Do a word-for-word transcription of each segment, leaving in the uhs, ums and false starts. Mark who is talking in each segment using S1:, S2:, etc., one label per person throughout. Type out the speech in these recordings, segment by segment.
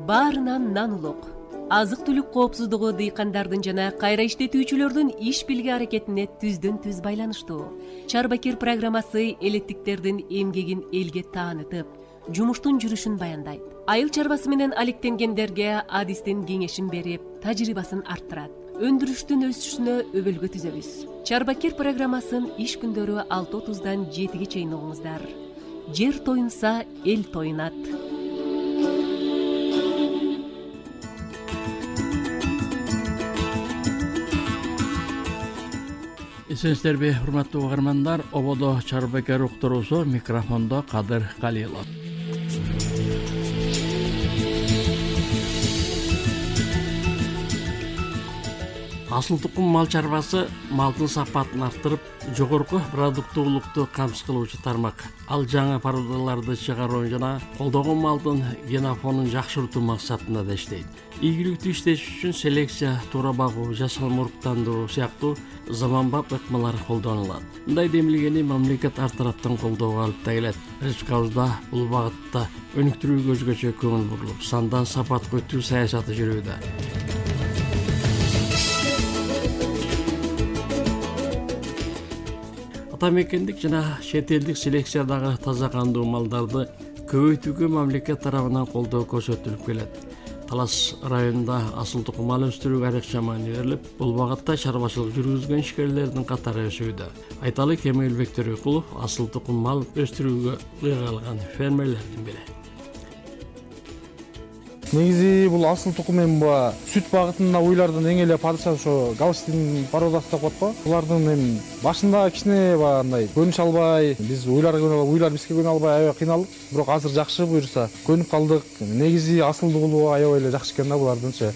S1: баарынан нан улук. Азык түлүк коопсуздугу дыйкандардын жана кайра иштетүүчүлөрдүн иш билги аракетине түздөн түз байланыштуу. Чарбакер программасы элеттиктердин эмгегин элге таанытып, жумуштун жүрүшүн баяндайт. Айыл чарбасы менен алектенгендерге адистин кеңешин берип, тажрыйбасын арттырат. Өндүрүштүн өсүшүнө өбөлгө түзөбүз. Чарбакер программасын иш күндөрү алты отуздан жетиге чейин угуңуздар. Жер тоюнса, эл тоюнат.
S2: Эсенсиздерби, урматтуу угармандар, ободо Чарбакер уктуруусу, микрофондо Кадыр Калилов. Асыл тукум мал чарбасы малдын сапатын арттырып, жогорку продуктуулукту камсыз кылуучу тармак. Ал жаңы породаларды чыгаруу жана колдогон малдын генофонун жакшыртуу максатында да иштейт. Ийгиликтүү иштеш үчүн селекция, туура багуу, жасалма уруктандыруу сыяктуу заманбап ыкмалар колдонулат. Мындай демилгени мамлекет ар тараптан колдоого алып да келет. Республикабызда бул багытта өнүктүрүүгө өзгөчө көңүл бурулуп, сандан сапатка өтүү саясаты жүрүүдө. Мекендик жана чет элдик селекциядагы таза кандуу малдарды көбөйтүүгө мамлекет тарабынан колдоо көрсөтүлүп келет. Талас районунда асыл тукум мал өстүрүүгө айрыкча маани берилип, бул багытта чарбачылык жүргүзгөн ишкерлердин катары өсүүдө. Айталы Кемелбек Төрөкулов асыл тукум мал өстүрүүгө кыйгалган фермерлердин бири.
S3: Негизи бул асыл тукум эми сүт багытында уйлардын эң эле падыша ошо Галштин породасы деп коет го. Булардын эми башында кичине баягындай көнүш албай, биз уйларга уйлар бизге көнө албай аябай кыйналдык. Бирок азыр жакшы, буюрса көнүп калдык. Негизи асылдуулугу аябай эле жакшы экен да булардынчы.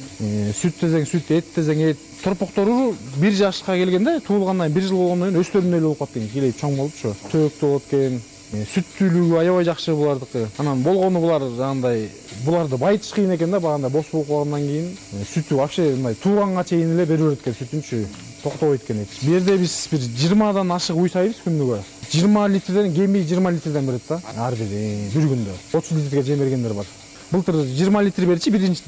S3: Сүт десең сүт, эт десең эт. Торпоктору бир жашка келгенде, туулгандан бир жыл болгондон кийин өстөрүндөй эле болуп калат экен, келип чоң болуп ошо. Төөктүү болот экен. Сүттүүлүгү аябай жакшы булардыкы. Анан болгону булар жагандай буларды байытыш кыйын экен да, баганда бос болуп калгандан кийин сүтү вообще мындай тууганга чейин эле бере берет экен, сүтүнчү токтобойт экен. Бу жерде биз бир жыйырмадан ашык уй сайбыз күнүгө. жыйырма литрден кеми жыйырма литрден берет да. Ар бир бир күндө отуз литрге жем бергендер бар. Былтыр жыйырма литр берчи, биринчи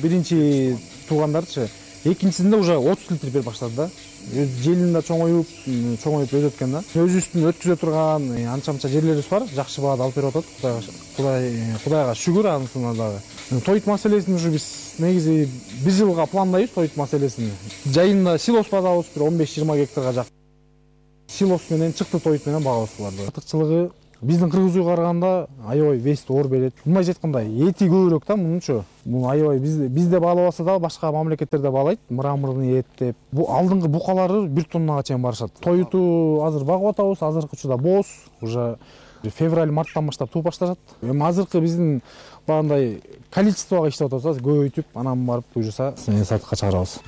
S3: биринчи туугандарчы. Экинчисинде уже отуз литр берип баштады да. Желин да чоңоюп, чоңоюп өтөт экен да. Өзүбүздүн өткүзө турган анча-мынча жерлерибиз бар, жакшы баада алып берип атат. Кудай Кудайга шүгүр анысына дагы. Тоyut маселесин ушу биз негизи бир жылга пландайбыз тоyut маселесин. Жайында силос базабыз бир он беш жыйырма гектарга жак. Силос менен чыкты тоyut менен багабыз буларды. Артыкчылыгы биздин кыргыз уйга караганда аябай вести оор берет. Мындайча айтканда эти көбүрөөк да мунунчу. Бул аябай бизде бизде баалабаса да башка мамлекеттерде баалайт. Мраморный эт деп. Бу алдыңкы букалары бир тоннага чейин барышат. Тоyutу азыр багып атабыз, азыркы учурда боз, уже февраль-марттан баштап тууп башташат. Эми азыркы биздин баандай количествого иштеп атабыз, көбөйтүп, анан барып буюрса сатыкка чыгарабыз.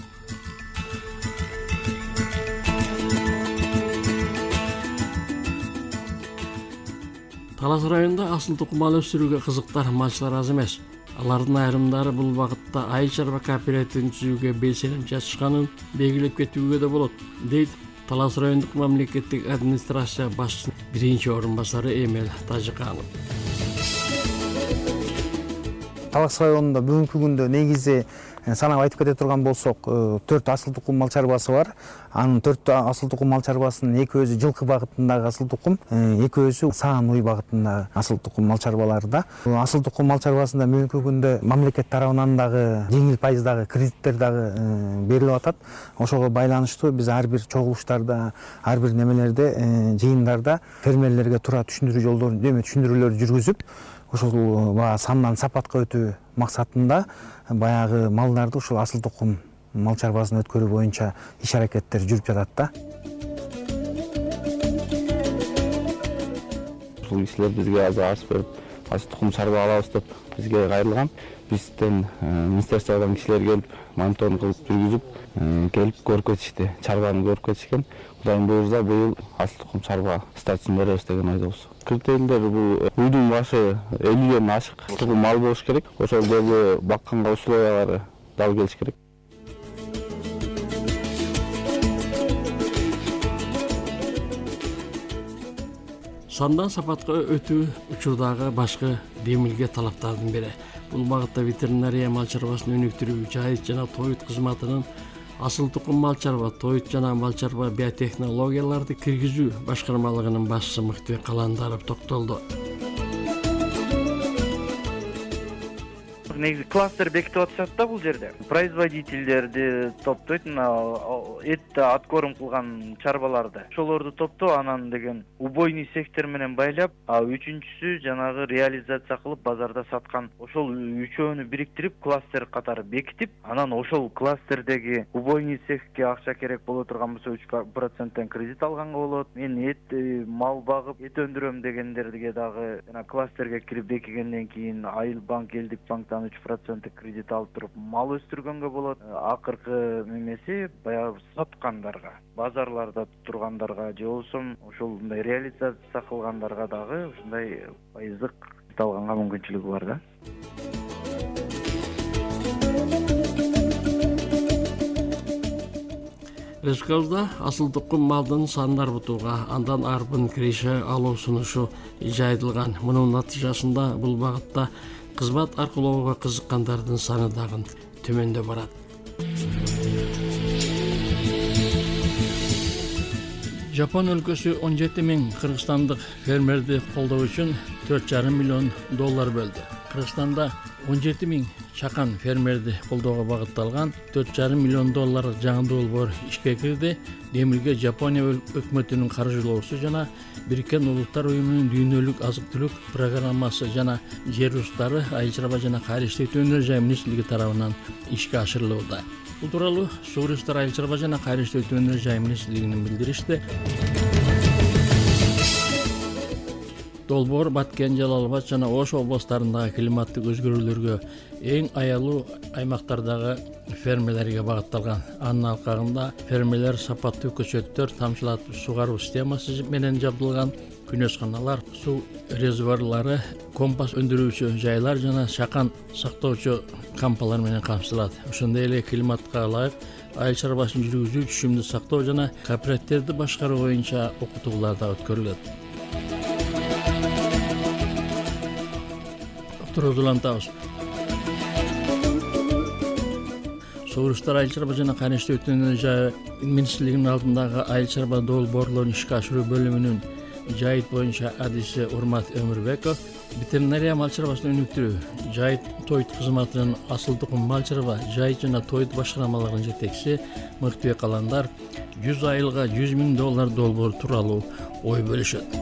S2: Талас районунда асыл тукум мал өстүрүүгө кызыктар малчылар аз эмес. Алардын айрымдары бул багытта айыл чарба кооперативин түзүүгө белсеним чачышканын белгилеп кетүүгө да болот, дейт Талас райондук мамлекеттик администрация башчысынын биринчи орун басары Эмел Тажыканов.
S4: Талас районунда бүгүнкү күндө негизи санап айтып кете турган болсок, төрт асыл тукум мал чарбасы бар. Анын төрт асыл тукум мал чарбасынын экөөсү жылкы багытындагы асыл тукум, экөөсү саан уй багытындагы асыл тукум мал чарбаларда. Асыл тукум мал чарбасында бүгүнкү күндө мамлекет тарабынан дагы жеңил пайыздагы кредиттер дагы берилип атат. Ошого байланыштуу биз ар бир чогулуштарда, ар бир немелерде, жыйындарда фермерлерге туура түшүндүрүү жолдорун, эме түшүндүрүүлөрдү жүргүзүп, ошол баягы сандан сапатка өтүү максатында баягы малдарды ушул асыл тукум мал чарбасын өткөрүү боюнча иш аракеттер жүрүп жатат да.
S5: Ушул кишилер бизге азыр арыз берип, асыл тукум чарба алабыз деп бизге кайрылган. Бизден министерстводон кишилер келип, мониторинг кылып жүргүзүп, келип көрүп кетишти, чарбаны көрүп кетишкен. Кудайым буйрса быйыл асыл тукум чарба статусун беребиз деген ойдобуз. Критерийлер бул уйдун башы элүүдөн ашык тукум мал болуш керек. Ошол жерде бакканга условиялары дал келиш керек.
S2: Сандан сапатка өтүү учурдагы башкы демилге талаптардын бири. бул багытта ветеринария мал чарбасын өнүктүрүү, жайыт жана тоют кызматынын асыл тукум мал чарба, тоют жана мал чарба биотехнологияларды киргизүү башкармалыгынын башчысы Мыктыбек Каландаров токтолду.
S6: Негизи кластер бекитип атышат да бул жерде. Производительдерди топтойт, мына этти откорм кылган чарбаларды. Ошолорду топтоо, анан деген убойный сектор менен байлап, а үчүнчүсү жанагы реализация кылып базарда саткан. Ошол үчөөнү бириктирип кластер катары бекитип, анан ошол кластердеги убойный цехке акча керек боло турган болсо үч проценттен кредит алганга болот. Мен эт мал багып, эт өндүрөм дегендерге дагы жана кластерге кирип бекигенден кийин Айыл банк, Элдик банктан үч проценттик кредит алып туруп мал өстүргөнгө болот. Акыркы немеси баягы саткандарга, базарларда тургандарга же болбосо ошол мындай реализация кылгандарга дагы ушундай пайыздык кредит алганга мүмкүнчүлүгү бар да.
S2: Республикабызда асыл тукум малдын санын арбытууга, андан арбын киреше алуу сунушу жайылган. Мунун натыйжасында бул багытта кызмат аркылоого кызыккандардын саны дагы төмөндөп барат. Жапон өлкөсү он жети миң кыргызстандык фермерди колдоо үчүн төрт жарым миллион доллар бөлдү. Кыргызстанда он жети миң чакан фермерди колдоого багытталган төрт жарым миллион доллар жаңы долбоор ишке кирди. Демилге Жапония өкмөтүнүн каржылоосу жана Бириккен Улуттар уюмунун дүйнөлүк азык-түлүк программасы жана жер устары, айыл чарба жана кайра иштетүү өнөр жай министрлиги тарабынан ишке ашырылууда. Бул тууралуу Суу ресурстар, айыл чарба жана кайра иштетүү өнөр жай министрлигинин билдиришти. Долбоор Баткен, Жалал Абад жана Ош областарындагы климаттык өзгөрүүлөргө эң аялуу аймактардагы фермерлерге багытталган. Анын алкагында фермерлер сапаттуу көчөттөр, тамчылатып сугаруу системасы менен жабдылган күнөсканалар, суу резервуарлары, компас өндүрүүчү жайлар жана чакан сактоочу кампалар менен камсыздалат. Ошондой эле климатка ылайык айыл чарбасын жүргүзүү, түшүмдү сактоо жана кооперативди башкаруу боюнча окутуулар да өткөрүлөт. Турузулантабыз. Суу ресурстар, айыл чарба жана кайра иштетүү өнөр жай министрлигинин алдындагы айыл чарба долбоорлорун ишке ашыруу бөлүмүнүн жайыт боюнча адиси Урмат Өмүрбеков ветеринария мал чарбасын өнүктүрүү, жайыт тоют кызматынын асыл тукум мал чарба, жайыт жана тоют башкармаларынын жетекчиси Мыктыбек Каландар жүз айылга жүз миң доллар долбоор тууралуу ой бөлүшөт.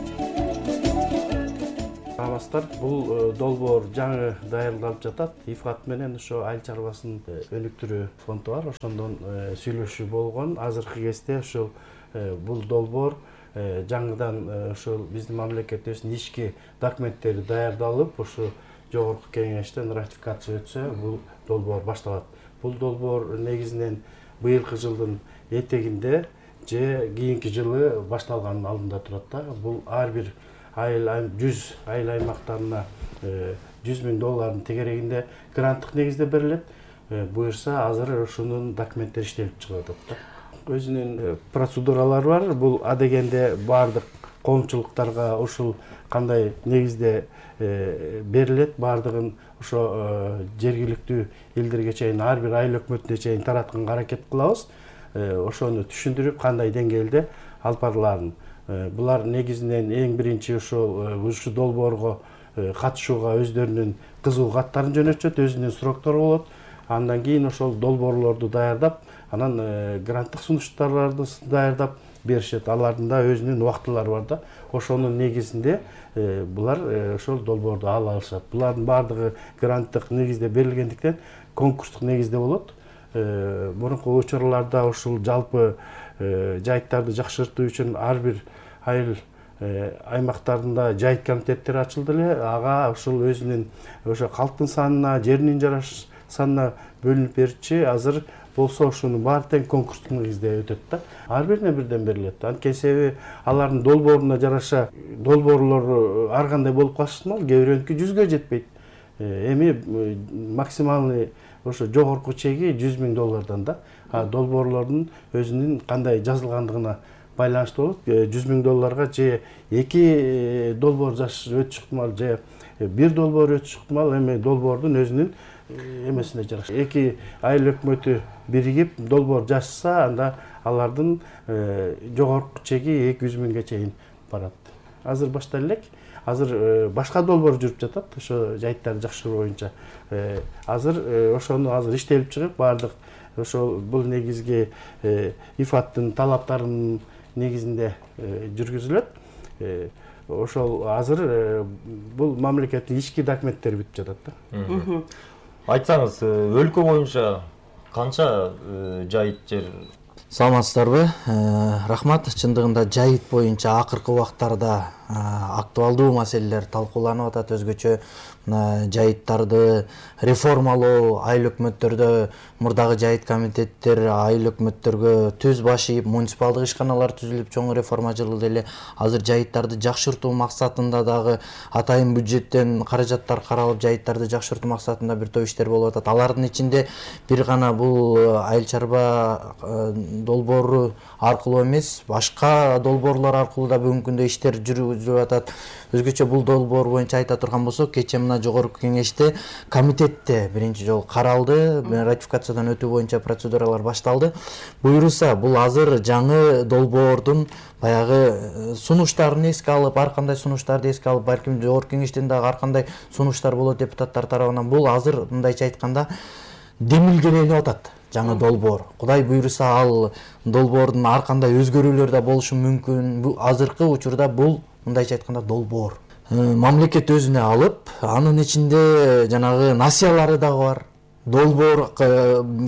S7: Бул долбоор жаңы даярдалып жатат. ИФАТ менен ошо айыл чарбасын өнүктүрүү фонду бар. Ошондон сүйлөшүү болгон. Азыркы кезде ошол бул долбоор жаңыдан ошол биздин мамлекетибиздин ички документтери даярдалып, ошо жогорку кеңештен ратификация өтсө, бул долбоор башталат. Бул долбоор негизинен быйылкы жылдын этегинде же кийинки жылы башталганын алдында турат да. Бул ар бир айыл жүз айыл аймактарына жүз миң доллардын тегерегинде гранттык негизде берилет. Буюрса азыр ошонун документтери иштелип чыгып атат да. Өзүнүн процедуралары бар. Бул адегенде баардык коомчулуктарга ушул кандай негизде берилет, баардыгын ошо жергиликтүү элдерге чейин, ар бир айыл өкмөтүнө чейин таратканга аракет кылабыз. Ошону түшүндүрүп, кандай деңгээлде алып барыларын. Булар негизинен эң биринчи ошол ушу долбоорго катышууга өздөрүнүн кызыл каттарын жөнөтүшөт, өзүнүн сроктору болот. Андан кийин ошол долбоорлорду даярдап, анан гранттык сунуштарды даярдап беришет. Алардын да өзүнүн убактылары бар да. Ошонун негизинде булар ошол долбоорду ала алышат. Булардын баардыгы гранттык негизде берилгендиктен конкурстук негизде болот. Мурунку учурларда ушул жалпы жайыттарды жакшыртуу үчүн ар бир айыл аймактарында жайыт комитеттери ачылды эле. Ага ушул өзүнүн ошо калктын санына, жеринин жараш санына бөлүнүп берчи. Азыр болсо ушунун баары тең конкурстук негизде өтөт да. Ар бирине бирден берилет. Анткени себеби алардын долбооруна жараша долбоорлору ар кандай болуп калышы ыкмал, кээ бирөөнүкү жүзгө жетпейт. Эми максималный ошо жогорку чеги жүз миң доллардан да. А долбоорлордун өзүнүн кандай жазылгандыгына байланыштуу болот. жүз миң долларга же эки долбоор өтүш ыктымал, же бир долбоор өтүш ыктымал, эми долбоордун өзүнүн эмесине жараша. Эки айыл өкмөтү биригип долбоор жазса, анда алардын жогорку чеги эки жүз миңге чейин барат. Азыр башта элек, азыр башка долбоор жүрүп жатат, ошо жайыттарды жакшыруу боюнча. Азыр ошону азыр иштелип чыгып, баардык ошол бул негизги ИФАТтын талаптарынын негизинде жүргүзүлөт. Ошол азыр бул мамлекеттин ички документтери бүтүп жатат да.
S8: Айтсаңыз, өлкө боюнча канча жайыт жер?
S4: Саламатсыздарбы? Рахмат. Чындыгында жайыт боюнча акыркы убактарда актуалдуу маселелер талкууланып атат. Өзгөчө жайыттарды реформалоо, айыл өкмөттөрдө мурдагы жайыт комитеттер айыл өкмөттөргө түз башыйып, муниципалдык ишканалар түзүлүп, чоң реформа жылды эле. Азыр жайыттарды жакшыртуу максатында дагы атайын бюджеттен каражаттар каралып, жайыттарды жакшыртуу максатында бир топ иштер болуп атат. Алардын ичинде бир гана бул айыл чарба долбоору аркылуу эмес, башка долбоорлор аркылуу да бүгүнкү күндө иштер жүргүзүлүп атат. Өзгөчө бул долбоор боюнча айта турган болсок, кечээ мына жогорку кеңеште комитетте биринчи жолу каралды, ратификациядан өтүү боюнча процедуралар башталды. Буйруса, бул азыр жаңы долбоордун баягы сунуштарын эске алып, ар кандай сунуштарды эске алып, балким жогорку кеңештен дагы ар кандай сунуштар болот депутаттар тарабынан. Бул азыр мындайча айтканда демилгеленип атат. Жаңы долбоор. Кудай буйруса, ал долбоордун ар кандай өзгөрүүлөр да болушу мүмкүн. Азыркы учурда бул мындайча айтканда долбоор. Мамлекет өзүнө алып, анын ичинде жанагы насыялары дагы бар. Долбоор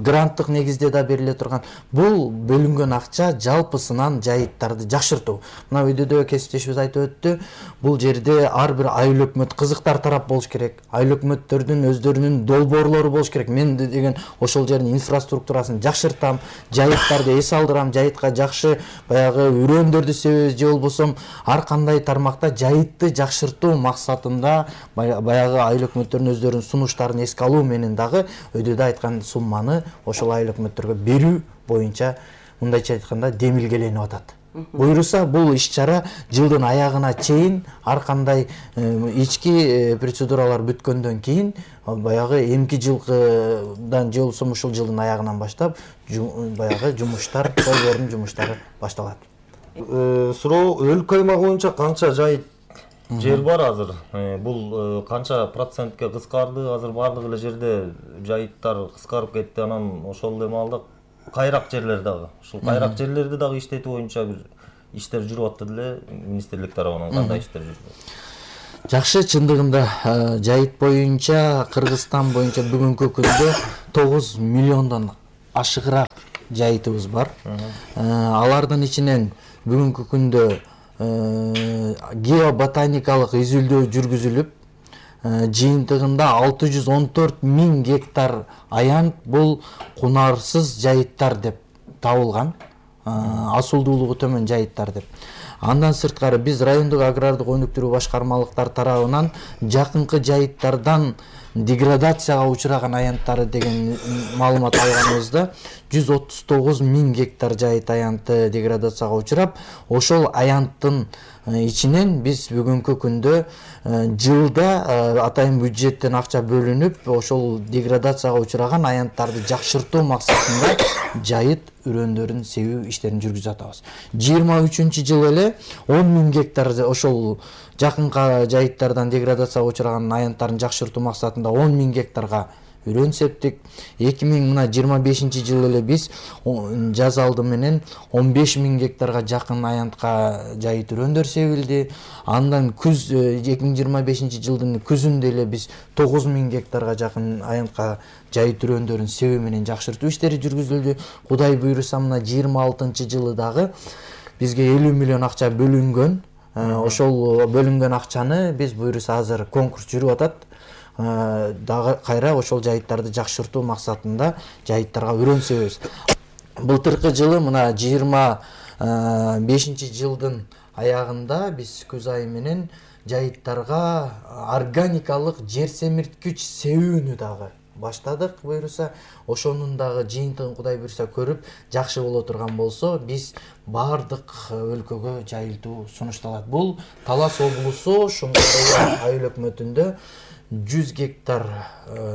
S4: гранттык негизде да бериле турган. Бул бөлүнгөн акча жалпысынан жайыттарды жакшыртуу. Мына үйдө кесиптешибиз айтып өттү. Бул жерде ар бир айыл өкмөт кызыктар тарап болуш керек. Айыл өкмөттөрдүн өздөрүнүн долбоорлору болуш керек. Мен деген ошол жердин инфраструктурасын жакшыртам, жайыттарды эс алдырам, жайытка жакшы баягы үрөөндөрдү себебиз же болбосо ар кандай тармакта жайытты жакшыртуу максатында баягы айыл өкмөттөрүнүн өздөрүнүн сунуштарын эске алуу менен дагы өйдөдө айткан сумманы ошол айыл өкмөттөргө берүү боюнча мындайча айтканда демилгеленип атат. Буйруса, бул иш-чара жылдын аягына чейин ар кандай ички процедуралар бүткөндөн кийин баягы эмки жылдан же болбосо ушул жылдын аягынан баштап баягы жумуштар, долбоордун жумуштары башталат.
S8: Суроо, өлкө аймагы боюнча канча жайыт жер бар азыр? Бул канча процентке кыскарды? Азыр бардык эле жерде жайыттар кыскарып кетти. Анан ошол эми алда кайрак жерлер дагы. Ушул кайрак жерлерди дагы иштетүү боюнча бир иштер жүрүп атты эле министрлик тарабынан. Кандай иштер жүрүп?
S4: Жакшы, чындыгында жайыт боюнча Кыргызстан боюнча бүгүнкү күндө тогуз миллиондон ашыгыраак жайытыбыз бар. Алардын ичинен бүгүнкү күндө геоботаникалык изилдөө жүргүзүлүп, жыйынтыгында алты жүз он төрт миң гектар аянт бул кунарсыз жайыттар деп табылган, асылдуулугу төмөн жайыттар деп. Андан сырткары биз райондук агрардык өнүктүрүү башкармалыктар тарабынан жакынкы жайыттардан деградацияга учураган аянттары деген маалымат алганыбызда жүз отуз тогуз миң гектар жайыт аянты деградацияга учурап, ошол аянттын ичинен биз бүгүнкү күндө жылда атайын бюджеттен акча бөлүнүп, ошол деградацияга учураган аянттарды жакшыртуу максатында жайыт үрөөндөрүн себүү иштерин жүргүзүп атабыз. жыйырма үчүнчү жылы эле он миң гектар ошол жакынкы жайыттардан деградацияга учураган аянттарын жакшыртуу максатында он миң гектарга үрөөн септик. эки миң жыйырма бешинчи жылы эле биз жаз алды менен он беш миң гектарга жакын аянтка жайыт үрөөндөр себилди. Андан күз эки миң жыйырма бешинчи жылдын күзүндө эле биз тогуз миң гектарга жакын аянтка жайыт үрөөндөрүн себүү менен жакшыртуу иштери жүргүзүлдү. Кудай буйруса, мына жыйырма алтынчы жылы дагы бизге элүү миллион акча бөлүнгөн. Ошол бөлүнгөн акчаны биз буйруса азыр конкурс жүрүп атат. Дагы кайра ошол жайыттарды жакшыртуу максатында жайыттарга үрөөн себебиз. Былтыркы жылы мына жыйырма бешинчи жылдын аягында биз күз айы менен жайыттарга органикалык жер семирткич себүүнү дагы
S9: баштадык буюрса, ошонун дагы жыйынтыгын Кудай буюрса көрүп жакшы боло турган болсо, биз баардык өлкөгө жайылтуу сунушталат. Бул Талас облусу Шуңкар айыл өкмөтүндө жүз гектар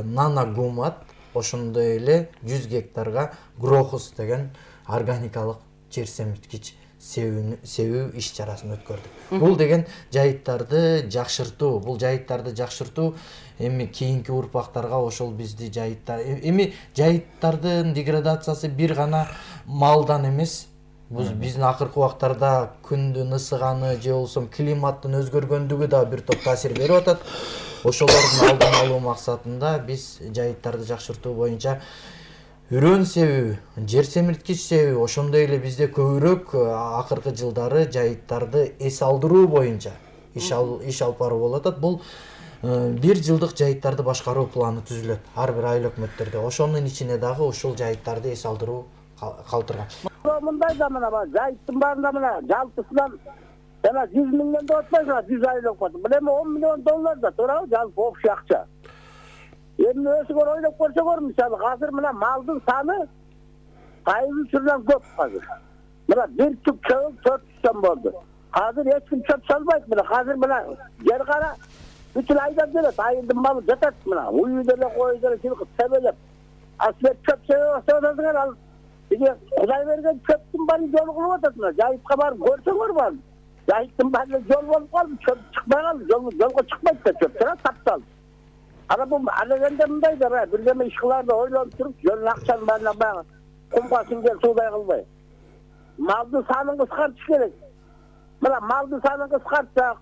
S9: нана гумат, ошондой эле жүз гектарга Грохус деген органикалык жер семирткич себүү иш чарасын өткөрдүк. Бул деген жайыттарды жакшыртуу, бул жайыттарды жакшыртуу эми кийинки урпактарга ошол бизди жайыттар эми жайыттардын деградациясы бир гана малдан эмес, биздин акыркы убактарда күндүн ысыганы же болбосо климаттын өзгөргөндүгү да бир топ таасир берип атат. Ошолордун алдын алуу максатында биз жайыттарды жакшыртуу боюнча үрөн себүү, жер семирткич себүү, ошондой эле бизде көбүрөөк акыркы жылдары жайыттарды эс алдыруу боюнча иш алып баруу болуп атат. Бул бир жылдык жайыттарды башкаруу планы түзүлөт ар бир айыл өкмөттөрдө. Ошонун ичине дагы ушул жайыттарды эс алдыруу калтырган.
S10: Мындай да мына жайыттын баарында мына жалпысынан жана жүз миңден да отпойсуңар, жүз айыл өкмөт. Бул эми он миллион доллар да туурабы, жалпы общий акча. Эми өзүңөр ойлоп көрсөңөр, мисалы азыр мына малдын саны айыл үчүрүнөн көп азыр. Мына бир түп чөп төрт жүз болду. Азыр эч ким чөп салбайт. Мына азыр мына жер кара бүтүн айдап келет, айылдын малы жатат мына. Уюу деле кой деле чылкып себелеп. Асбек чөп себе баштадыңар, ал биге Кудай берген чөптүн баары жол кылып атат мына. Жайытка барып көрсөңөр бар. Жайыттын баары жол болуп калды, чөп чыкпай калды, жолго чыкпайт да чөп, тура тапталды. Ана бул алегенде мындай да бир неме иш кыларды ойлонуп туруп, жөн акчанын баарына баягы кумга сиңген суудай кылбай. Малдын санын кыскартыш керек. Мына малдын санын кыскартсак,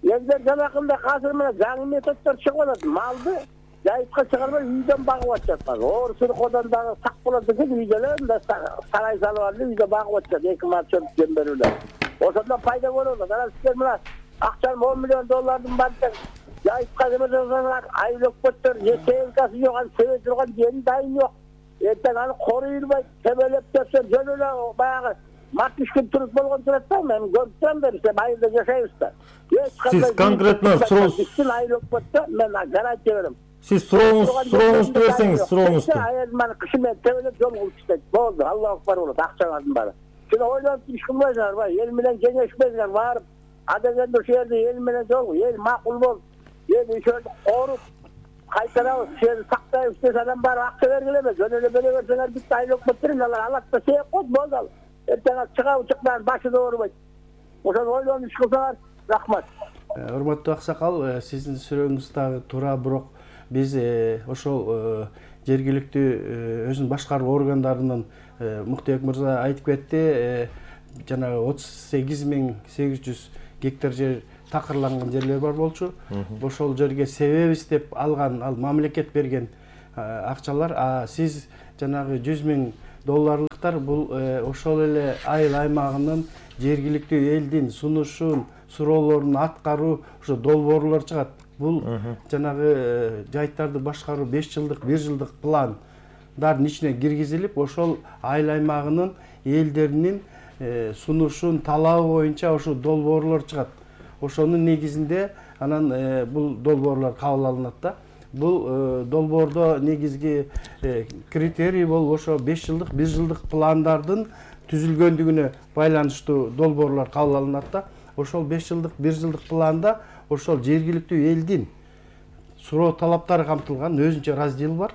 S10: элдер жанакындай азыр мына жаңы методдор чыгып атат. Малды жайытка чыгарбай үйдөн багып атышат. Оор сыркодан дагы сак болот экен, үйдөн да сарай салып алып үйдө багып атышат, эки мал чөп жем берүүлөр. Ошондон пайда болот. Анан сиздер мына акчаны он миллион доллардын баарын жайытка жиберсеңер, айыл өкмөттөр эсенкасы жок, ал себе турган жери дайын жок. Эртең аны коруйбайт, себелеп берсе жөн эле баягы мартишкин туруп болгон турат да, мен көрүп турам да, биз айылда жашайбыз да.
S8: Сиз конкретно суроо
S10: айыл өкмөттө мен гарантия берем.
S8: Сиз сурооңузду берсеңиз, сурооңузду.
S10: Айыл маны кышы менен тебелеп жол кылып иштейт. Болду, Аллах акбар болот, акчаңардын баары. Сиз ойлонуп иш кылбайсыңар, бай, эл менен кеңешпейсиңер, барып адегенде ошол жерде эл менен жол, эл макул болуп, эл ошолду коруп, кайтарабыз, сени сактайбыз десе анан барып акча бергиле эмес, жөн эле бере берсеңер бүт айыл өкмөттөр алар алат да сээп коет, болду ал. Эртең чыгабы чыкпайбы, башы да оорубайт. Ошону ойлонуп иш кылсаңар, рахмат.
S7: Урматтуу аксакал, сиздин сурооңуз дагы туура, бирок биз ошол жергиликтүү өзүн башкаруу органдарынын Муктуек мырза айтып кетти, жанагы отуз сегиз миң сегиз жүз гектар жер такырланган жерлер бар болчу. Ошол жерге себебиз деп алган, ал мамлекет берген акчалар, а сиз жанагы жүз миң долларлыктар бул ошол эле айыл аймагынын жергиликтүү элдин сунушун, суроолорун аткаруу, ошо долбоорлор чыгат. Бул жанагы жайыттарды башкаруу беш жылдык, бир жылдык пландардын ичине киргизилип, ошол айыл аймагынын элдеринин сунушун, талабы боюнча ошо долбоорлор чыгат. Ошонун негизинде анан бул долбоорлор кабыл алынат да. Бул долбоордо негизги критерий болуп ошо беш жылдык, бир жылдык пландардын түзүлгөндүгүнө байланыштуу долбоорлор кабыл алынат да. Ошол беш жылдык, бир жылдык планда ошол жергиликтүү элдин суроо талаптары камтылган өзүнчө раздел бар.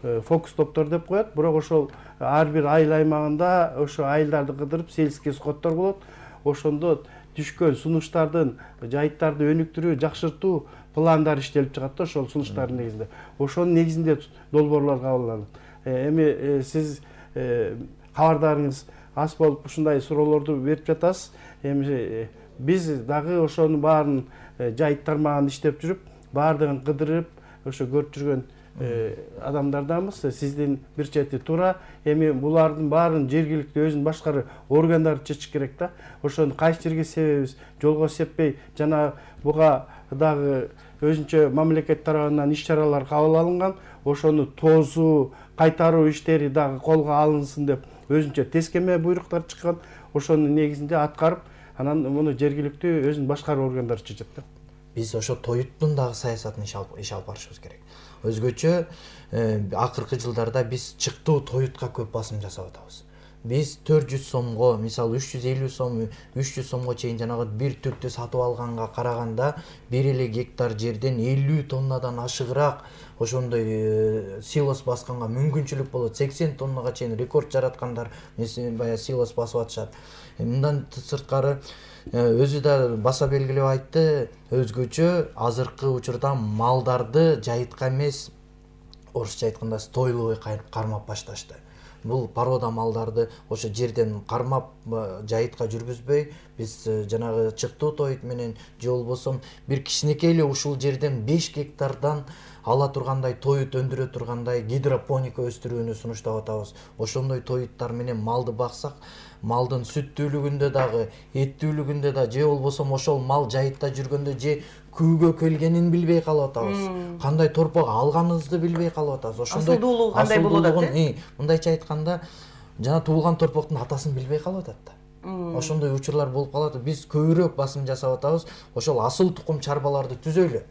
S7: Фокус топтор деп коет, бирок ошол ар бир айыл аймагында ошо айылдарды кыдырып сельский скоттор болот. Ошондо түшкөн сунуштардын, жайыттарды өнүктүрүү, жакшыртуу пландар иштелип чыгат да, ошол сунуштардын негизинде. Ошонун негизинде долбоорлор кабыл алынат. Эми сиз кабардарыңыз аз болуп ушундай суроолорду берип жатасыз. Эми биз дагы ошонун баарын жайыт тармагында иштеп жүрүп, баардыгын кыдырып, ошо көрүп жүргөн адамдарданбыз. Сиздин бир чети туура. Эми булардын баарын жергиликтүү өзүн башкаруу органдары чечиш керек да. Ошону кайсы жерге себебиз, жолго сеппей, жана буга дагы өзүнчө мамлекет тарабынан иш чаралар кабыл алынган. Ошону тозуу, кайтаруу иштери дагы колго алынсын деп өзүнчө тескеме буйруктар чыккан. Ошонун негизинде аткарып, анан муну жергиликтүү өзүн башкаруу органдары чечет да.
S9: Биз ошо тоюттун дагы саясатын иш алып барышыбыз керек. өзгөчө акыркы жылдарда биз чыктуу тоютка көп басым жасап атабыз. Биз төрт жүз сомго, мисалы үч жүз элүү сом, үч жүз сомго чейин жанагы бир түптү сатып алганга караганда бир эле гектар жерден элүү тоннадан ашыгыраак ошондой силос басканга мүмкүнчүлүк болот. сексен тоннага чейин рекорд жараткандар баягы силос басып атышат. Мындан сырткары өзү да баса белгилеп айтты, өзгөчө азыркы учурда малдарды жайытка эмес, орусча айтканда стойловой кармап башташты. Бул порода малдарды ошо жерден кармап жайытка жүргүзбөй, биз жанагы чыктуу тоют менен же болбосо бир кичинекей эле ушул жерден беш гектардан ала тургандай тоют өндүрө тургандай гидропоника өстүрүүнү сунуштап атабыз. Ошондой тоюттар менен малды баксак, малдын сүттүүлүгүндө дагы, эттүүлүгүндө да же болбосо ошол мал жайытта жүргөндө же күүгө келгенин билбей калып атабыз. Кандай торпок алганыбызды билбей калып атабыз.
S11: Ошондой асылдуулугу кандай болуп атат?
S9: Мындайча айтканда, жана туулган торпоктун атасын билбей калып атат да. Ошондой учурлар болуп калат. Биз көбүрөөк басым жасап атабыз. Ошол асыл тукум чарбаларды түзөйлү.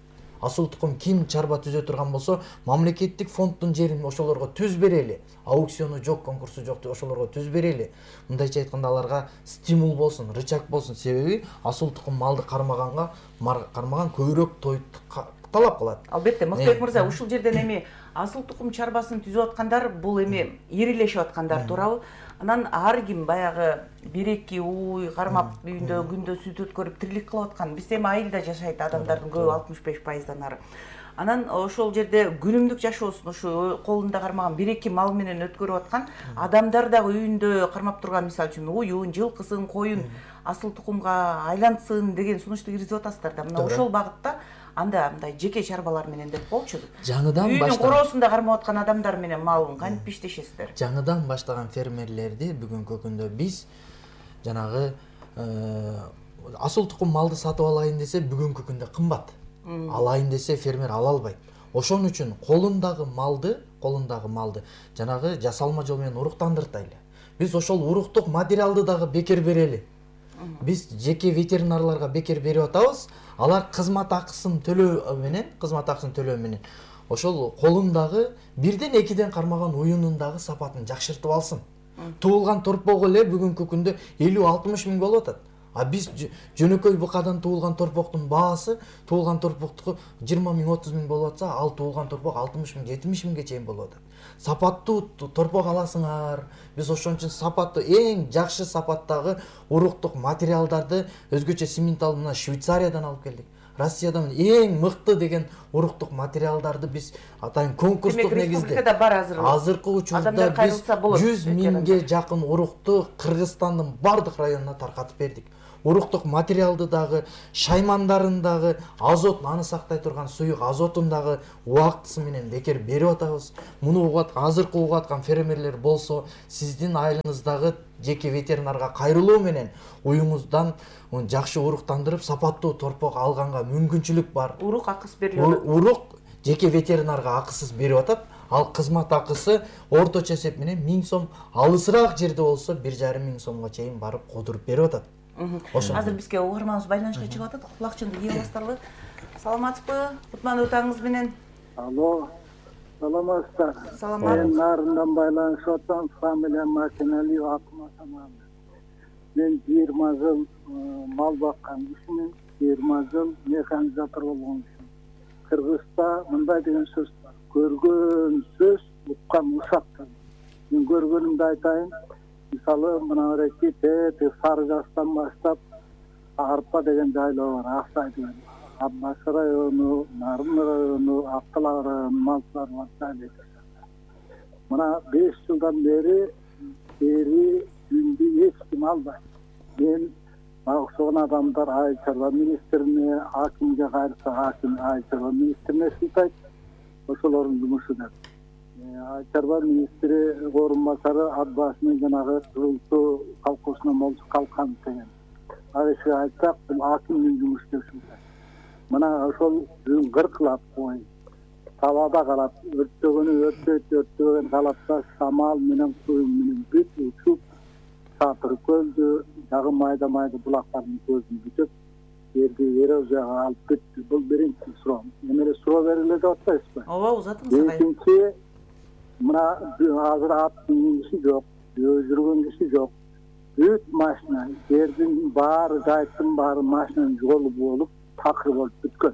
S9: Асыл тукум ким чарба түзө турган болсо, мамлекеттик фонддун жерин ошолорго түз берели. Аукциону жок, конкурсу жок, ошолорго түз берели. Мындайча айтканда аларга стимул болсун, рычаг болсун. Себеби асыл тукум малды кармаганга, кармаган көбүрөөк тоют талап кылат.
S11: Албетте, Мактыбек мырза, ушул жерден эми асыл тукум чарбасын түзүп аткандар бул эми ирилешип аткандар туурабы? Анан ар ким баягы бир эки уй кармап үйүндө күндө сүт өткөрүп тирилик кылып аткан. Биз эми айылда жашайт адамдардын көбү алтымыш беш пайыздан ары. Анан ошол жерде күнүмдүк жашоосун ушу колунда кармаган бир эки мал менен өткөрүп аткан адамдар дагы үйүндө кармап турган, мисалы үчүн уюн, жылкысын, коюн асыл тукумга айлансын деген сунушту киргизип атасыздар да. Мына ошол багытта анда мындай жеке чарбалар менен деп болчу.
S9: Жаңыдан баштаган
S11: үйүнүн короосунда кармап аткан адамдар менен малын кантип иштешесиздер?
S9: Жаңыдан баштаган фермерлерди бүгүнкү күндө биз жанагы асыл тукум малды сатып алайын десе бүгүнкү күндө кымбат. Алайын десе фермер ала албайт. Ошон үчүн колундагы малды, колундагы малды жанагы жасалма жол менен уруктандыртайлы. Биз ошол уруктук материалды дагы бекер берели. Биз жеке ветеринарларга бекер берип атабыз. Алар кызмат акысын төлөө менен, кызмат акысын төлөө менен ошол колундагы бирден экиден кармаган уюнундагы сапатын жакшыртып алсын. Туулган торпогу эле бүгүнкү күндө элүү алтымыш миң болуп атат. А биз жөнөкөй букадан туулган торпоктун баасы, туулган торпоктуку жыйырма миң, отуз миң болуп атса, ал туулган торпок алтымыш миң, жетимиш миңге чейин болуп атат. Сапаттуу торпок аласыңар. Биз ошон үчүн сапаттуу, эң жакшы сапаттагы уруктук материалдарды өзгөчө симментал мына Швейцариядан алып келдик. Россиядан эң мыкты деген уруктук материалдарды биз атайын конкурстук негизде азыркы учурда биз жүз миңге жакын урукту Кыргызстандын бардык районуна таркатып бердик. Уруктук материалды дагы, шаймандарын дагы, азот, аны сактай турган суюк азотун дагы убактысы менен бекер берип атабыз. Муну угат, азыркы угаткан фермерлер болсо, сиздин айылыңыздагы жеке ветеринарга кайрылуу менен уюңуздан жакшы уруктандырып, сапаттуу торпок алганга мүмкүнчүлүк бар.
S11: Урук акысы берилип атат.
S9: Урук жеке ветеринарга акысыз берип атат. Ал кызмат акысы орточо эсеп менен миң сом, алысыраак жерде болсо бир жарым миң сомго чейин барып кодуруп берип атат.
S11: Азыр бизге угарманыбыз байланышка чыгып атат. Кулакчынды кийип аласыздарбы? Саламатсызбы? Кутмандуу таңыңыз менен.
S10: Алло. Саламатсыздар.
S11: Саламат.
S10: Мен нарындан байланышып атам. Фамилиям Макиналиев Акматаман. Мен жыйырма жыл мал баккан кишимин, жыйырма жыл механизатор болгон кишимин. Кыргызда мындай деген сөз бар. Көргөн сөз, уккан ушактан. Мен көргөнүмдү айтайын. Мисалы мына реки те Сары Жастан баштап Арпа деген жайлоо бар, Аксай деген. Аббас району, Нарын району, Актала району малчылар бар жайлоо. Мына беш жылдан бери бери күндү эч ким албайт. Мен окшогон адамдар Айыл чарба министрине, акимге кайрылса аким Айыл чарба министрине сылтайт. Ошолордун жумушу деп. Айыл чарба министри орун басары Аббасынын жанагы жылтуу колхозуна молчу калкан деген. Айышка айтсак, бул акимдин жумушу деп сылтайт. Мына ошол кыркылап кой. Талаада калат, өрттөгөнү өрттөйт, өрттөгөн калатта шамал менен куюм менен бүт учуп, Сатыр көлдү, жагы майда майда булактардын көзүн бүтөп, жерди эрозияга алып кетти. Бул биринчи суроо. Эмне суроо бериле деп атпайсызбы?
S11: ооба узатыңыз.
S10: Экинчи, мына азыр аттын киши жок, жүргөн киши жок. Бүт машина, жердин баары, жайыттын баары машинанын жолу болуп, такыр болуп бүткөн.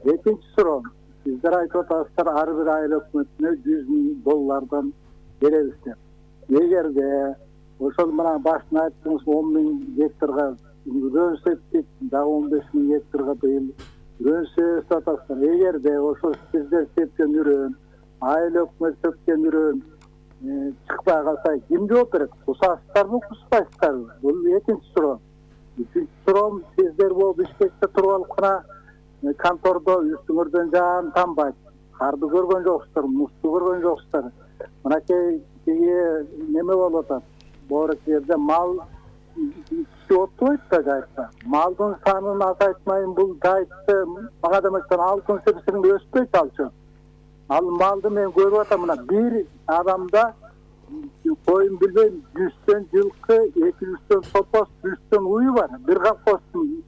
S10: Экинчи суроо, сиздер айтып атасыздар, ар бир айыл өкмөтүнө жүз миң доллардан беребиз деп. Эгерде ошол мына башында айттыңыз он миң гектарга үрөн септик, дагы он беш миң гектарга быйыл үрөн себип атасыздар. Эгерде ошол сиздер сепкен үрөн, айыл өкмөт сепкен үрөн чыкпай калса, ким жооп берет? Кусасыздарбы, куспайсыздарбы? Бул экинчи суроо. Үчүнчү суроо, сиздер бул Бишкекте туруп алып гана контордо үстүңөрдөн жаан тамбайт. Карды көргөн жоксуздар, музду көргөн жоксуздар. Мынакей неме болуп атат. Боорак жерде мал киши отпойт да жайытта. Малдын санын азайтмайын, бул жайытты мага демектен алтын себесинде өспөйт алчу. Ал малды мен көрүп атам, мына бир адамда коюн билбейм, жүздөн жылкы, эки жүздөн топоз, жүздөн уй бар. Бир колхоздун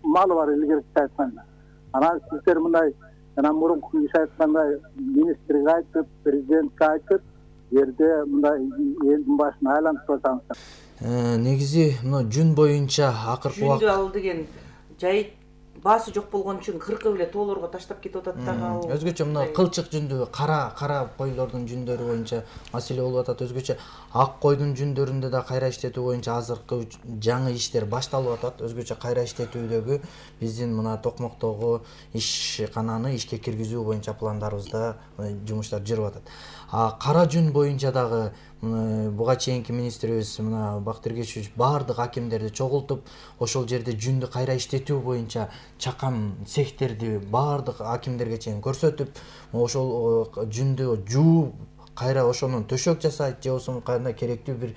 S10: малы бар илгерки айтканда. Анан сиздер мындай жана мурунку киши айткандай министрге айтып, президентке айтып, жерде мындай элдин башын айлантып атасыңыздар.
S9: Негизи мына жүн боюнча акыркы убакыт
S11: жүндү ал деген жайыт баасы жок болгон үчүн кыркып эле тоолорго таштап кетип атат дагы.
S9: Өзгөчө мына кылчык жүндү, кара кара койлордун жүндөрү боюнча маселе болуп атат. Өзгөчө ак койдун жүндөрүндө да кайра иштетүү боюнча азыркы жаңы иштер башталып атат. Өзгөчө кайра иштетүүдөгү биздин мына Токмоктогу ишкананы ишке киргизүү боюнча пландарыбызда жумуштар жүрүп атат. А кара жүн боюнча дагы буга чейинки министрибиз мына Бактыр Кечүүч баардык акимдерди чогултуп, ошол жерде жүндү кайра иштетүү боюнча чакан цехтерди баардык акимдерге чейин көрсөтүп, ошол жүндү жууп, кайра ошонун төшөк жасайт, же болбосо кандай керектүү бир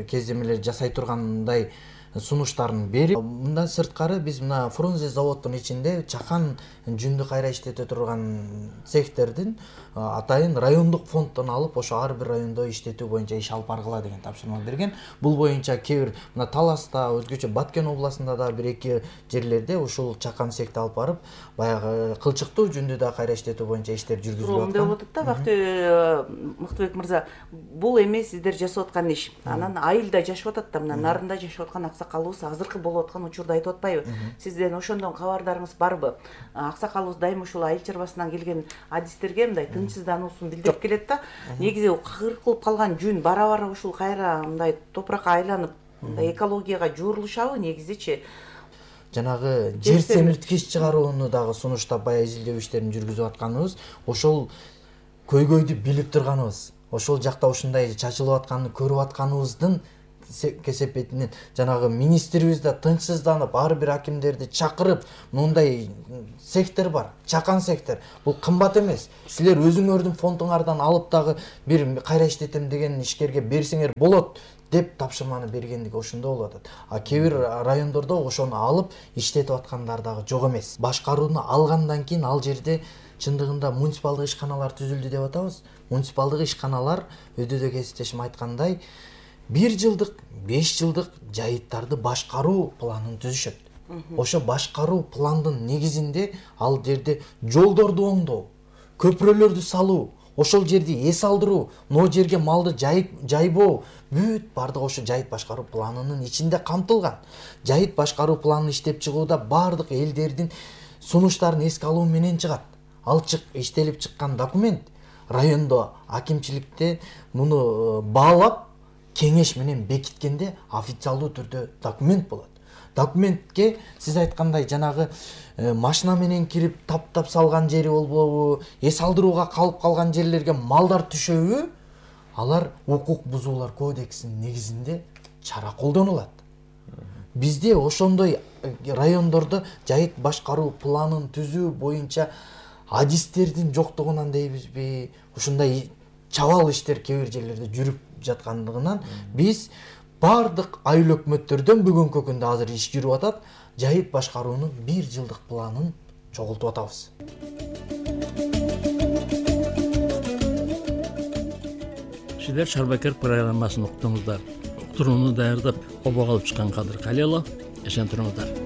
S9: кездемелер жасай тургандай сунуштарын берип, мындан сырткары биз мына Фрунзе заводдун ичинде чакан жүндү кайра иштете турган цехтердин атайын райондук фонддон алып, ошо ар бир райондо иштетүү боюнча иш алып баргыла деген тапшырма берген. Бул боюнча кээ бир мына Таласта, өзгөчө Баткен областында да бир эки жерлерде ушул чакан цехти алып барып, баягы кылчыктуу жүндү да кайра иштетүү боюнча иштер жүргүзүлүп аткан.
S11: Мындай болуп атат да, Бактыр Мыктыбек мырза, бул эми сиздер жасап аткан иш. Анан айылда жашап атат да, мына нарында жашап аткан аксакалыбыз азыркы болуп аткан учурду айтып атпайбы? Сизден ошондон кабардарыңыз барбы? Аксакалыбыз дайыма ушул айыл чарбасынан келген адистерге мындай тынчсыздануусун билдирип келет да. Негизи кыркылып калган жүн бара-бара ушул кайра мындай топуракка айланып, мындай экологияга жуурулушабы негизичи?
S9: Жанагы жер семирткич чыгарууну дагы сунуштап баягы изилдөө иштерин жүргүзүп атканыбыз, ошол көйгөйдү билип турганыбыз, ошол жакта ушундай чачылып атканын көрүп атканыбыздын кесепетинен жанагы министрибиз да тынчсызданып, ар бир акимдерди чакырып, мындай цехтер бар, чакан цехтер. Бул кымбат эмес. Силер өзүңөрдүн фондуңардан алып дагы бир кайра иштетем деген ишкерге берсеңер болот деп тапшырманы бергендиги ошондо болуп атат. А кээ бир райондордо ошону алып иштетип аткандар дагы жок эмес. Башкарууну алгандан кийин ал жерде чындыгында муниципалдык ишканалар түзүлдү деп атабыз. Муниципалдык ишканалар өдөдө кесиптешим айткандай бир жылдык, беш жылдык жайыттарды башкаруу планын түзүшөт. Ошо башкаруу пландын негизинде ал жерде жолдорду оңдоо, көпүрөлөрдү салуу, ошол жерди эс алдыруу, но жерге малды жайбоо, бүт бардык ошо жайыт башкаруу планынын ичинде камтылган. Жайыт башкаруу планын иштеп чыгууда бардык элдердин сунуштарын эске алуу менен чыгат. Ал иштелип чыккан документ райондо акимчиликте муну баалап кеңеш менен бекиткенде официалдуу түрдө документ болот. Документке сиз айткандай жанагы машина менен кирип таптап салган жери болбобу, эс алдырууга калып калган жерлерге малдар түшөбү, алар укук бузуулар кодексинин негизинде чара колдонулат. Бизде ошондой райондордо жайыт башкаруу планын түзүү боюнча адистердин жоктугунан дейбизби, ушундай чабал иштер кээ бир жерлерде жүрүп жаткандыгынан биз бардык айыл өкмөттөрдөн бүгүнкү күндө азыр иш жүрүп атат, жайыт башкаруунун бир жылдык планын чогултуп атабыз.
S2: Сиздер Шарбакер программасын уктуңуздар. Уктурууну даярдап, обого алып чыккан Кадыр Калилов, эсен туруңуздар.